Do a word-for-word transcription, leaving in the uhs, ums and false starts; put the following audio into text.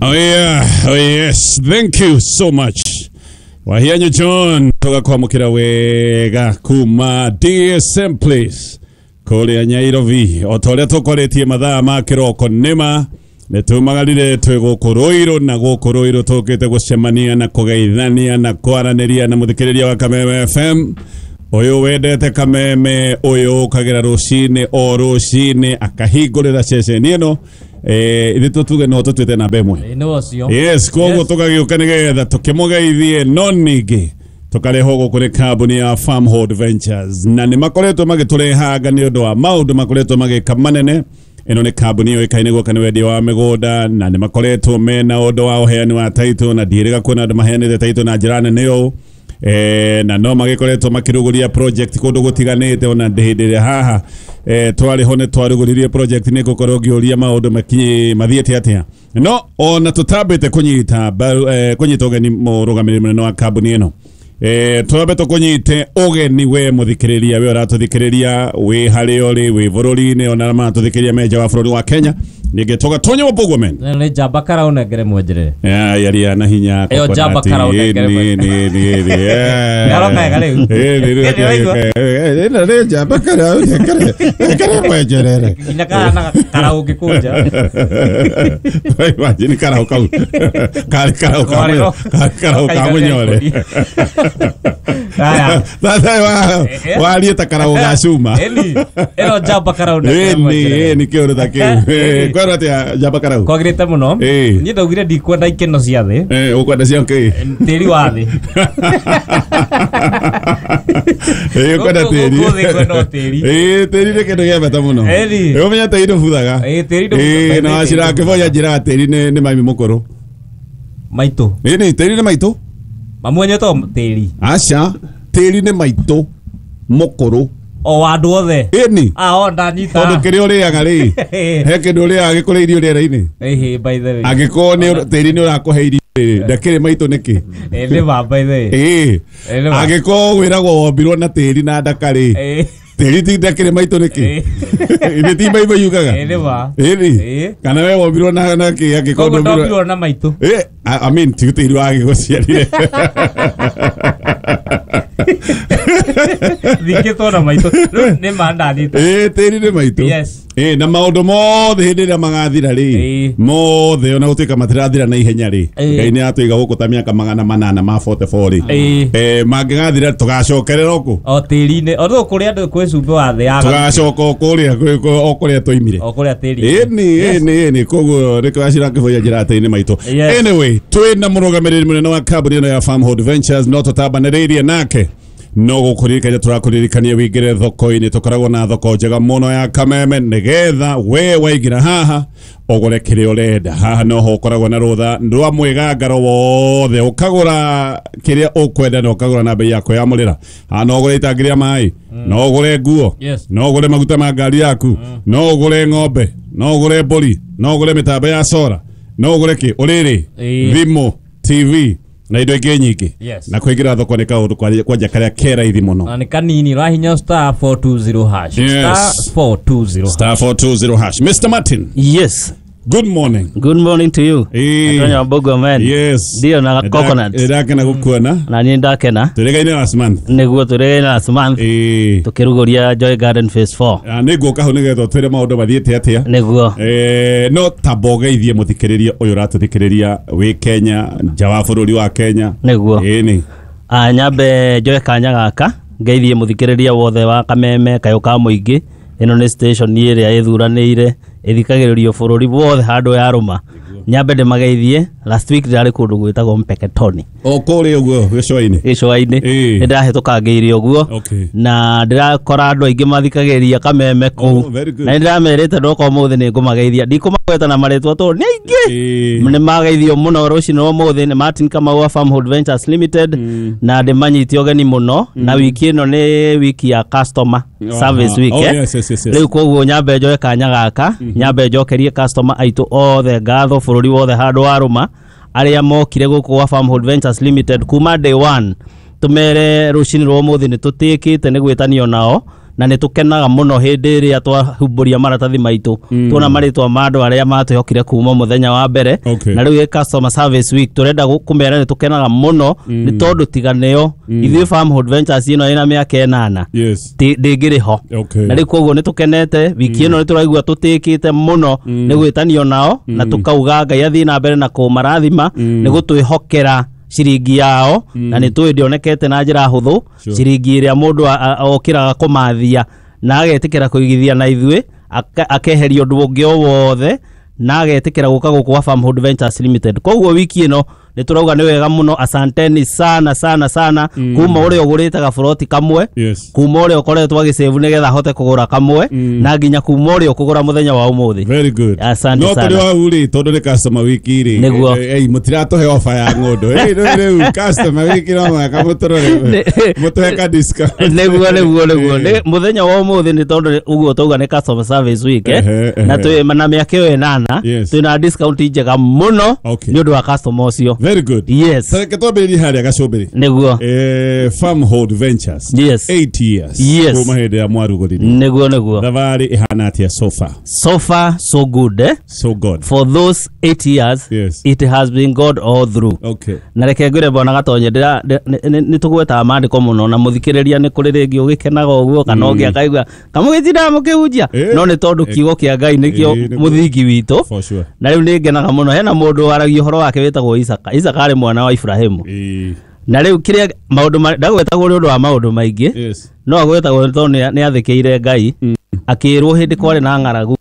Oh yeah, oh yes, thank you so much. Wahianyo John tugakwamukira wega kuma D S M Place kuria Nyairobi o ta ũrĩa tũkoretie mathaa ma kĩroko nĩma nĩtumagarire twĩ gũkũ Ruiru na gũkũ Ruiru tũkĩte gũcemania na kũgeithania na kwaranĩria na mũthikĩrĩria wa Kameme F M ũyũ wendete Kameme ũyũ ũkagĩra rũcinĩ o rũcinĩ akahingũrĩra ceceni ĩno eh ithu tuge no tũtuĩte namba ĩmwe. Yes, koguo tũgagĩũka nĩgetha tũkĩmũgeithie no ningĩ tũkarehwo gũkũ nĩ kambuni ya Farmhold Ventures na nĩ makoretwo magĩtũrehanga nĩ ũndũ wa maũndũ makoretwo magĩka manene. Ĩno nĩ kambuni yũĩkaine gũka nĩ wendia wa mĩgũnda na nĩ makoretwo mena ũndũ wa ũheani wa title na ndiĩrĩga kuona andũ maheanĩte title na njĩra nene ũũ. Eh, na no magĩkoretwo makĩrugũria project kũndũ gũtiganĩte ona hĩndĩ ĩrĩa haha eh, twarĩ ho nĩ twarugũririe project nĩ ngũkorwo ngĩũria maũndũ makinye mathiĩte atĩa no ona tũtambĩte kũnyita eh, kũnyita ũgeni mũrũgamĩrĩri mũnene wa kambuni ĩno eh, twambe tũkũnyite ũgeni we mũthikĩrĩria we ũratũthikĩrĩria wĩ harĩa ũrĩ wĩ bũrũri-inĩ ona maratũthikĩrĩria me nja wa bũrũri wa Kenya ningĩ tũgatonya Wambũgũ men nĩ njamba karaũnengere mwenjerere ya yaria na hinya ĩyo njamba karaũnengere ni ni ni ni Yaroka ega rĩu eh ni ni ni njamba karaũnengere ngere mwenjerere nginya kahana karau ũngĩkũnja imagine karau kau karĩ karau ka karau ka mũnyore Haya. Sasa wa warie ta karau ga cuma ĩni ĩyo njamba karaũnengere ĩni ĩni kĩũndũ ta kĩu kwero atia njamba karau kwagĩrĩte mũno niĩ ndaugire ndikwenda ikeno cia thĩ eh ũkwenda cia kĩ tĩri wa thĩ eh ũkwenda tĩri gũkũ thĩ kwenda o tĩri eh tĩri nĩ kĩndũ gĩa bata mũno ĩni ũmenya tĩri ndũbuthaga ĩĩ tĩri ndũbuthaga eh na wacira kĩboya njĩra tĩri nĩ nĩ mami mũkũrũ maitũ ĩni tĩri nĩ maitũ mamwenye to tĩri aca tĩri nĩ maitũ mũkũrũ o andũ othe ĩni ah o ndanyita tondũ kĩrĩa ũrĩaga rĩ he kĩndũ ũrĩaga gĩkũrĩ irio rĩera-inĩ ĩhĩ by the way angĩkorwo nĩ tĩri nĩ ũrakũhe irio rĩ ndakĩrĩ maitũ nĩkĩ ĩ nĩ ma by the way ĩĩ angĩkorwo wĩragwo wombirwo na tĩri na ndaka rĩ tĩri ti ndakĩrĩ maitũ nĩkĩ ĩnĩ ti maitũ yugaga ĩ nĩ ma ĩni kana we wombirwo na na kĩ angĩkorwo ndombirwo na maitũ ĩ I mean ti tĩri wa gĩgũciarire thikĩtwo na maitũ rĩu nĩ ma ndanyita ĩ tĩri nĩ maitũ yes ĩ na maũndũ mothe hĩndĩ ĩrĩa magathira rĩ mothe ona gũtuĩka matirathira na ihenya rĩ Ngai nĩ atũiga gũkũ ta mĩaka magana manana ma forty four rĩ eh mangĩgathira tũgacokerera ũkũ o tĩri-inĩ o rĩu kũrĩa andũ kwĩ cumbĩ wa thĩ yaga tũgacoka o kũrĩa o kũrĩa twoimire o kũrĩa tĩri ĩni ĩni ĩni koguo nĩkĩo wacira kĩboya njĩra tĩri nĩ maitũ anyway twĩ na mũrũgamĩrĩri mũnene wa kambuni ĩno ya Farmhold Ventures no tũtambanĩrĩirie nake no gũkũririkania tũrakũririkania wĩingĩre thoko-inĩ tũkoragwo na thoko njega mũno ya Kameme nĩgetha we waingĩra haha ũgũre kĩrĩa ũrenda haha noho ũkoragwo na rũtha rwa mwĩgangaro wothe ũkagũra kĩrĩa ũkwenda na ũkagũra na bei ya kwĩyamũrĩra haha no ũgũre itangi rĩa maĩ no ũgũre nguo no ũgũre maguta ma ngari yaku no ũgũre ng'ombe no ũgũre mbũri no ũgũre mĩtambo ya sora no ũgũre kĩ ũrĩrĩ thimũ T V na indo ingĩ nyingĩ na kũingĩra thoko nĩ kaũndũ kwanja karĩa ke raithi mũno na nĩ kanini ũrahinya star four two zero hash star four two zero star four two zero hash. Mister Martin, yes, good morning. Good morning to you. Eh Wambũgũ man. Yes, ndio na coconut ndakena gũkuona na niĩ ndakena tũrĩgaine last month nĩguo tũrĩgaine last month eh tũkĩrugũria Joy Garden Phase four na nĩ ngũka hau nĩgetha ũtwĩre maũndũ mathiĩte atĩa nĩguo eh no tamba ũgeithie mũthikĩrĩria ũyũ ũratũthikĩrĩria wĩ Kenya nja wa bũrũri wa Kenya nĩguo ĩni ah nyambe njoe kanya gaka ngeithie mũthikĩrĩria wothe wa Kameme kayũ ka mũingĩ ĩno nĩ station ĩrĩa ĩthuranĩire ĩthikagĩrĩrio bũrũri wothe handũ yarũma nyambe ndĩmageithie last week ndĩrarĩ kũndũ gwĩtagwo Mpeketoni o kũrĩa ũguo gĩcũa-inĩ gĩcũa-inĩ nĩ ndĩrahĩtũkangĩire ũguo na ndĩrakora andũ aingĩ mathikagĩrĩria Kameme kũu na nĩ ndĩramerĩte ndoka ũmũthĩ nĩ ngũmageithia ndikũmagweta na marĩtwa tondũ nĩ aingĩ nĩ mageithio mũno rũcinĩ rwa ũmũthĩ nĩ Martin Kamau wa Farmhold Ventures Limited na ndĩmanyite ũgeni mũno na wiki ĩno nĩ wiki ya customer service week rĩu koguo nyambe njoe kanya gaka nyambe njokerie customer aitũ othe ngatho bũrũri wothe handũ warũma arĩa mokire gũkũ gwa Farmhold Ventures Limited kuma day one tumere rũcinĩ rwa ũmũthĩ nĩ tũtĩkĩte nĩ gwĩtanio nao Na nĩ tũkenaga mũno hĩndĩ ĩrĩa twahumbũria maratathi maitũ, tuona marĩtwa ma andũ arĩa matwĩhokire kuma mũthenya wa mbere. Okay. Na rĩu ĩ customer service week, tũrenda gũ- kũmera nĩ tũkenaga mũno nĩ tondũ tiga nĩo, ithuĩ Farmhold Ventures ĩno ĩna mĩaka ĩnana Yes. ti- ndĩngĩrĩ ho. Okay. Na rĩu koguo nĩ tũkenete wiki ĩno, nĩ tũraigua tũtĩkĩte mũno nĩ gwĩtanio nao, na tũkauga Ngai athiĩ na mbere na kũmarathima nĩ gũtwĩhokera ciringi yao, na nĩ tũĩ ndĩonekete na njĩra hũthũ. Sure. Ciringi ĩrĩa mũndũ a- a- okĩraga kũmathia na agetĩkĩra kũigithia na ithuĩ, aka- akeheria ũndũ ũngĩ o wothe na agetĩkĩra gũka gũkũ gwa Farmhold Ventures Limited. Koguo wiki ĩno nĩ tũrauga nĩ wega mũno, asanteni sana sana sana, kuma ũrĩa ũgũrĩte gaburoti kamwe, Yes. kuma ũrĩa ũkoretwo agĩsave nĩgetha ahote kũgũra kamwe, na nginya kuma ũrĩa ũkũgũra mũthenya wa ũmũthĩ. Very good. Asante No sana. tũrĩ hau rĩ, tondũ nĩ customer week rĩ. Nĩguo. Eh, eh, mũtiratũhe offer ya ng'ũndũ. Eh, rĩu rĩu customer week no mũhaka mũtũrore. Mũtũhe ka discount. nĩguo nĩguo nĩguo Eh. Nĩ- mũthenya wa ũmũthĩ, nĩ tondũ ũguo tauga nĩ customer service week, eh? Ehe, ehe. Na twĩ na mĩaka ĩyo ĩnana, Yes. twĩna discount njega mũno Okay. nĩ ũndũ wa customer ũcio. Very good. Yes. Reke twambĩrĩrie harĩa gacũmbĩrĩ. Nĩguo. Eh, Farmhold Ventures. Yes. Eight years. Yes. Kuma hĩndĩ ya mwarugũririe. nĩguo nĩguo Thabarĩ ĩhana atĩa so far? So far so good, eh? So good. For those eight years, Yes. it has been God all through. Okay. Na reke ngwĩre, bwana Gatonye, ndĩra- ndĩ- nĩ nĩ tũgwetaga maandĩko mũno, na mũthikĩrĩria nĩ kũrĩ rĩngĩ ũgĩkenaga ũguo kana ũngĩ akaigua kamũgĩtindaga mũkĩhunjia, Eh. no nĩ tondũ kiugo kĩa Ngai nĩkĩo Eh, nĩguo. mũthingi witũ. For sure. Na rĩu nĩ ngenaga mũno, hena mũndũ waragia ũhoro wake wĩtagwo Isaka. Isaka arĩ mwana wa Ibrahimu. Eh, Na rĩu kĩrĩa maũndũ ma- ndagwetagwo nĩ ũndũ wa maũndũ maingĩ, Yes. no agwetagwo nĩ tondũ nĩ- nĩ athĩkĩire Ngai. Akĩrwo hĩndĩ kwarĩ na ng'aragu.